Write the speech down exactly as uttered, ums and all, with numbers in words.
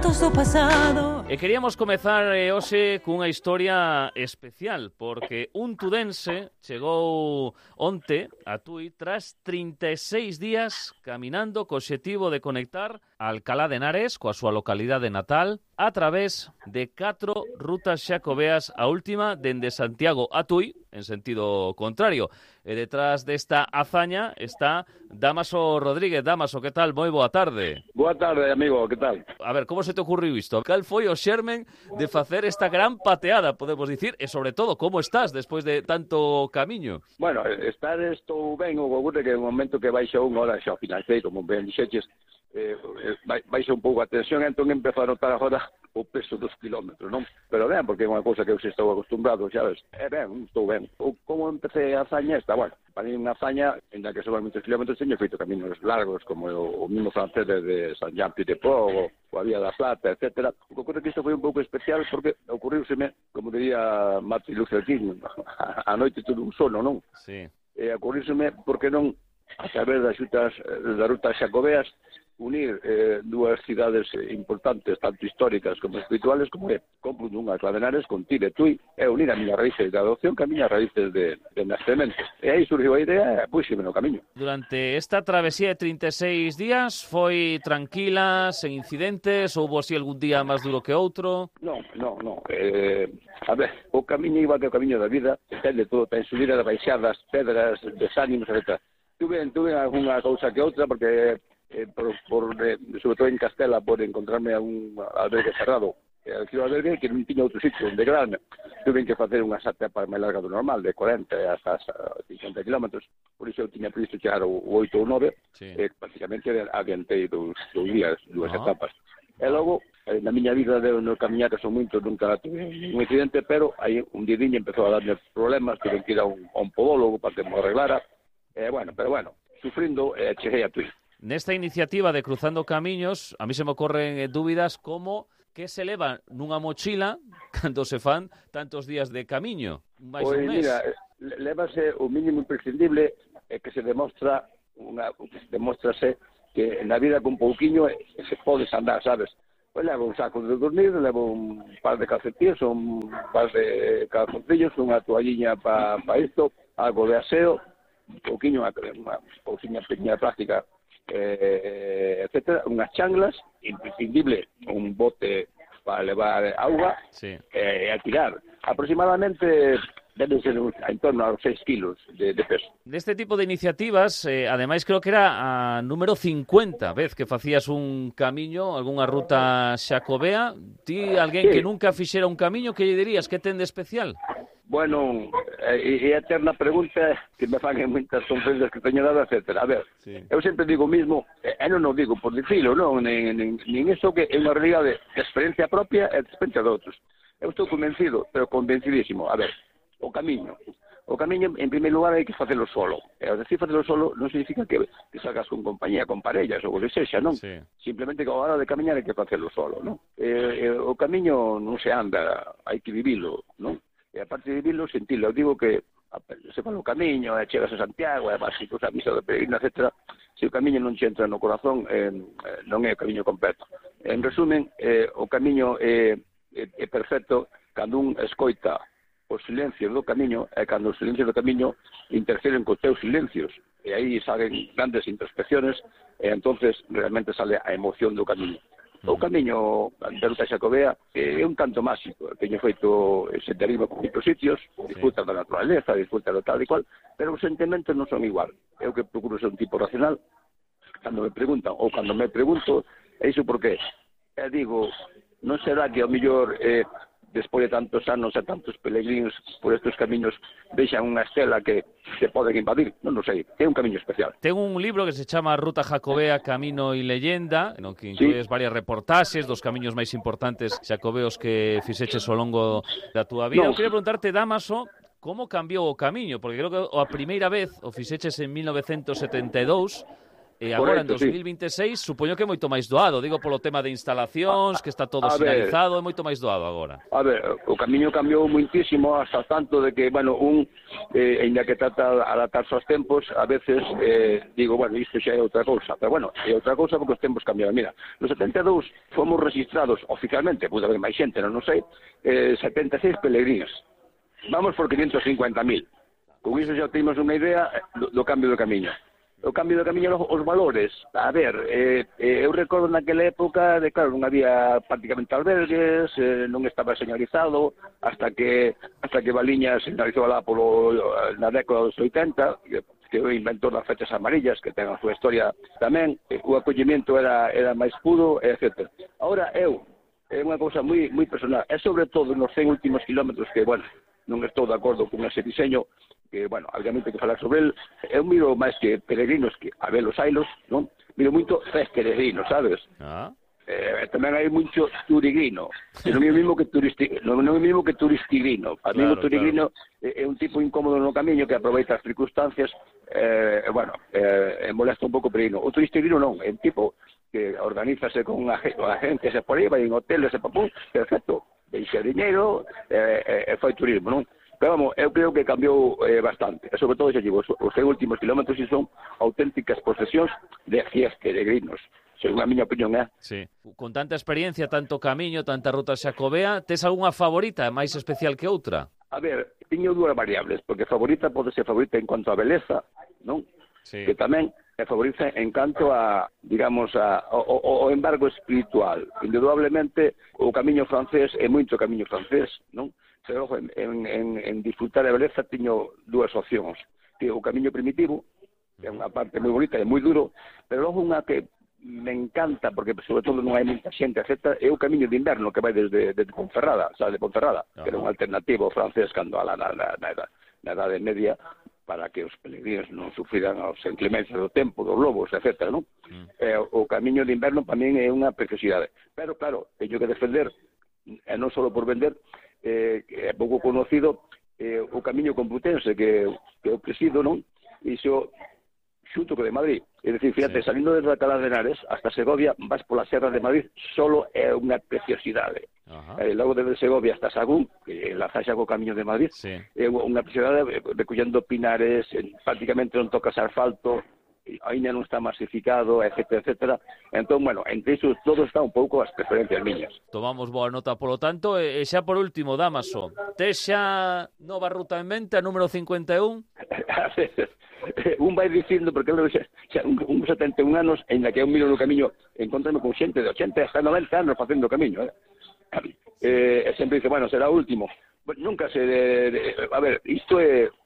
Contos do pasado. E queríamos comezar eh, hoxe cunha historia especial, porque un tudense chegou onte a Tui tras trinta e seis días caminando co obxectivo de conectar a Alcalá de Henares coa súa localidade natal a través de catro rutas xacobeas, a última dende Santiago a Tui, en sentido contrario. E detrás desta hazaña está Dámaso Rodríguez. Dámaso, que tal? Moi boa tarde. Boa tarde, amigo, que tal? A ver, como se te ocurriu isto? Cal foi o xermen de facer esta gran pateada, podemos dicir, e sobre todo, como estás despois de tanto camiño? Bueno, estar estou ben, o que ocurre que no momento que baixa unha hora xa financei, como ben dixeches, eh, baixa un pouco a tensión, entón empezo a notar agora o peso dos kilómetros, non? Pero ben, porque é unha cousa que eu se estou acostumbrado, xa ves. É ben, estou ben. O, como empecé a hazaña esta, bueno, para mí unha hazaña en la que sobre muitos kilómetros teño feito caminos largos, como o, o mismo francés de San Jean-Pied-de-Port, o a Vía da Plata, etcétera. O que ocurre que isto foi un pouco especial porque ocurriuseme, como diría Martin Luther King, a noite tudo un sono, non? Sí. E ocurriuseme porque non, a través das xutas, das rutas xacobeas, unir eh, dúas cidades importantes, tanto históricas como espirituales, como é compro dunha Alcalá de Henares con Tire, Tui, e unir a miñas raíces de adopción que a miñas raíces de, de nacemento. E aí surgiu a idea e puxeme no camiño. Durante esta travesía de trinta e seis días foi tranquila, sen incidentes, houbo así algún día máis duro que outro? Non, non, non. Eh, a ver, o camiño iba que o camiño da vida, ten de todo, ten subidas, baixadas, pedras, desánimos, etcétera. Tuve, tuve algunha cousa que outra, porque Eh, por, por, eh, sobre todo en Castela, por encontrarme a un albergue cerrado. Eh, aquilo albergue que non tiña outro sitio onde quedarme. Tuve que facer unha etapa máis larga do normal, de corenta hasta cincuenta kilómetros. Por iso eu tiña previsto chegar o oito ou nove, sí. eh, prácticamente adiantei dos, dos días, dúas uh-huh. etapas. E logo, eh, na miña vida de no camiñar, que son moitos, nunca tuve un incidente, pero aí un didiño empezou a darme problemas, tuve que ir a un, a un podólogo para que me arreglara. Eh, bueno, pero bueno, sufrindo, eh, cheguei a Tui. Nesta iniciativa de Cruzando Camiños, a mí se me ocorren eh, dúbidas como que se leva nunha mochila cando se fan tantos días de camiño, máis pois, un mes. Mira, lévase o mínimo imprescindible é que se demostra unha, demostrase que na vida con pouquiño se podes andar, sabes? Pois levo un saco de dormir, levo un par de calcetines, un par de calzoncillos, unha toalliña para pa isto, algo de aseo, un pouquiño, unha, unha cousiña pequena práctica, Eh, etcétera, unhas changlas, imprescindible un bote para levar auga, sí. e eh, a tirar. Aproximadamente deben ser en torno aos seis kilos de, de peso. Deste tipo de iniciativas, eh, ademais creo que era a número cincuenta vez que facías un camiño, algunha ruta xacobea. Ti, alguén sí. que nunca fixera un camiño, que lle dirías? Que ten de especial? Bueno, e eh, a eterna pregunta que me fan en moitas conferencias que teño dado, etcétera. A ver, sí. eu sempre digo o mismo, e eh, non o digo por dicilo, non, nin, nin, nin iso que é unha realidade de experiencia propia e de experiencia de outros. Eu estou convencido, pero convencidísimo. A ver, o camiño. O camiño, en primeiro lugar, hai que facelo solo. E ao decir facelo solo non significa que, que salgas con compañía, con parellas, ou o que sexa, non? Sí. Simplemente que a hora de camiñar hai que facelo solo, non? E, e, o camiño non se anda, hai que vivilo, non? E aparte de vivirlo, sentirlo. Eu digo que se fala o camiño, e chegas a Santiago, e vas a misa de peregrina, etcétera. Se o camiño non che entra no corazón, eh, non é o camiño completo. En resumen, eh, o camiño é, é, é perfecto cando un escoita o silencio do camiño e cando os silencios do camiño interfieren cos teus silencios. E aí salen grandes introspecciones e entonces realmente sale a emoción do camiño. O camiño da ruta xacobea é un tanto máxico. Teño feito senderismo por moitos sitios, disfruta da naturaleza, disfruta do tal e cual, pero os sentimentos non son igual. Eu que procuro ser un tipo racional, cando me preguntan, ou cando me pregunto, é iso por qué? E digo, non será que ao mellor eh, despois de tantos anos e tantos peregrinos por estes camiños deixan unha estela que se poden invadir, non o sei, é un camiño especial. Ten un libro que se chama Ruta Jacobea, Camino e Leyenda, no que inclues sí. varias reportaxes dos camiños máis importantes xacobeos que fixeches ao longo da túa vida. No. Eu queria preguntarte, Dámaso, como cambiou o camiño? Porque creo que a primeira vez o fixeches en mil novecentos setenta e dous, e agora Correcto, en dos mil vinte e seis sí. Supoño que é moito máis doado, digo polo tema de instalacións, que está todo a sinalizado, ver, é moito máis doado agora. A ver, o camiño cambiou muitísimo hasta tanto de que, bueno, un, eh, ainda que trata de adaptarse aos tempos, a veces eh, digo, bueno, isto xa é outra cousa, pero bueno, é outra cousa porque os tempos cambiaron. Mira, no setenta e dous fomos registrados oficialmente, pude haber máis xente, non, non sei, eh, setenta e seis peregrinos. Vamos por quinientos cincuenta mil. Con iso xa temos unha idea do, do cambio do camiño. O cambio do camiño, os valores, a ver, eh, eh, eu recordo naquela época de, claro, non había prácticamente albergues, eh, non estaba señalizado, hasta que hasta que Valiña señalizou lá polo, na década dos oitenta, que é o inventor das fechas amarillas, que ten a súa historia tamén, eh, o acollemento era, era máis puro, etcétera. Ahora, eu, é unha cousa moi, moi personal, é sobre todo nos cen últimos kilómetros que, bueno, non estou de acordo con ese diseño, que, bueno, obviamente que falar sobre el, eu miro máis que peregrinos, que a ver os ailos, non? Miro moito tres peregrinos, sabes? Ah. Eh, tamén hai moito turigrino, que non é o mismo que turisti, non, non é o mismo que turistigrino. A mí claro, o turigrino claro. é, é un tipo incómodo no camiño que aproveita as circunstancias, eh, bueno, eh, molesta un pouco o peregrino. O turistigrino non, é un tipo que organízase con unha gente, se por aí, vai en hoteles, e papú, perfecto, deixa diñeiro, e eh, eh, fai turismo, non? Pero vamos, eu creo que cambiou eh, bastante. E sobre todo, xa digo, os, os últimos kilómetros si son auténticas posesións de cien peregrinos. Según a miña opinión, é. Sí. Con tanta experiencia, tanto camiño, tanta ruta xacobea, tes algunha favorita máis especial que outra? A ver, tiño dúas variables, porque favorita pode ser favorita en cuanto a beleza, non? Sí. Que tamén é favorita en canto a, digamos, a, o, o embargo espiritual. Indudablemente, o camiño francés é moito camiño francés, non? Pero en, en, en disfrutar a beleza tiño dúas opcións. O camiño primitivo, que é unha parte moi bonita e moi duro, pero logo unha que me encanta, porque sobre todo non hai moita xente, etcétera, é o camiño de inverno que vai desde, desde Ponferrada, o sea, de Ponferrada, uh-huh. que era un alternativo francés cando a la, na, na, na, na Edade Media, para que os peregrinos non sufriran as inclemencias do tempo, dos lobos, etcétera, non? Uh-huh. Eh, o camiño de inverno para min é unha preciosidade. Pero, claro, teño que defender, e non só por vender, eh, que é pouco conocido, eh, o camiño complutense que, que eu presido, non? Iso xunto co de Madrid. É dicir, fíjate, sí. Salindo desde Alcalá de Henares hasta Segovia, vas pola Serra de Madrid, solo é unha preciosidade. Uh-huh. Eh, logo desde Segovia hasta Sagún, que enlaza xa co camiño de Madrid, sí. É unha preciosidade recollendo pinares, prácticamente non tocas asfalto, ainda non está masificado, etcétera, etcétera. Entón, bueno, entre iso todo está un pouco as preferencias miñas. Tomamos boa nota polo tanto, e xa por último, Dámaso, tes xa nova ruta en mente, a número cincuenta e un? Un vai dicindo, porque eu xa, xa un, un setenta e un anos, en la que eu miro no camiño, encontrame con xente de ochenta hasta noventa anos facendo camiño, eh? Eh, e sempre dice, bueno, será o último. Bueno, nunca se... De, de, a ver, isto é